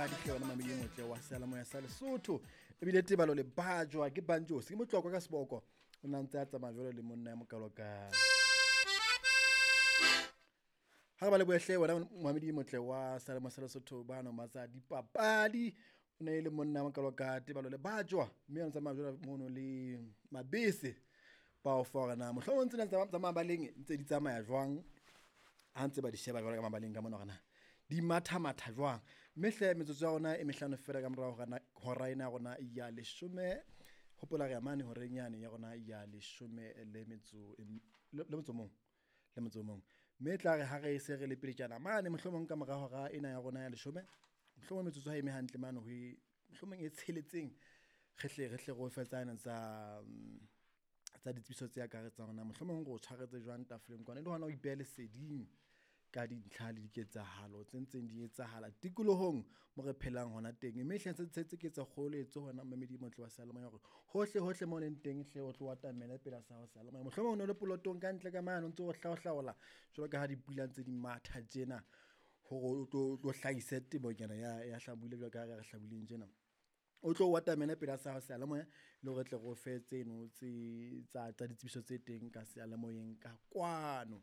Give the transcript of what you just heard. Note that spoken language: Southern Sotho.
Hle wena mamedi e motle wa seyalemoya sa Lesotho. Ebile Tebalo le bajwa ke Banjos, ke motlokwa ka seboko. O na ntse a tsamaya jwalo le monna ya mokalo ka. Ha re ba lebohe hle wena momamedi e motle wa seyalemoya sa Lesotho bano matsa dipapadi. O ne e le monna ya mokalo ka Tebalo le bajwa mme a tsamaya jwalo mono le mabese ba o fa hore na mohlomong tsena tsa mabaleng ntse di tsamaya jwang ha ntse ba di sheba jwalo ka mabaleng ka mona hore na di matha-matha jwang. Mme hle metsotso ya rona e mehlano fela ka morao hora ena ya rona ya leshome. Hopola re ya mane horeng yane ya rona ya leshome le metso le motso o mong, le motso o mong. Mme e tla re ha re se re le pele mane mohlomong ka mora hora ena ya rona ya leshome, mohlomong metsotso ha eme hantle mane ho e mohlomong e tsheletseng re hle re hle re o fe tsane tsa tsa ditsebiso tse akaretsang hore na mohlomong re o tshwaretse jwang tafoleng kwana e le hona ho ipeha leseding ka dintlha le diketsahalo tse ntseng di etsahala tikolohong mo re phelang hona teng. Mme hle tse ke tse kgoeletso hona momamedi e motle wa seyalemoya hore hohle hohle mo leng teng hle o tlo atamele pela sa hao seyalemoya. Mohlomong o no le polotong ka ntle ka mane o ntso o hlaohlaola jwalo ka ha dipula ntse di matha tjena hore o tlo hlahise temonyana ya hlabula jwalo ka ha re hlabuleng tjena. O tlo o atamele pela sa hao seyalemoya le hore tle re o fe tseno tse tsa ditsebiso tse teng ka seyalemoyeng ka kwano.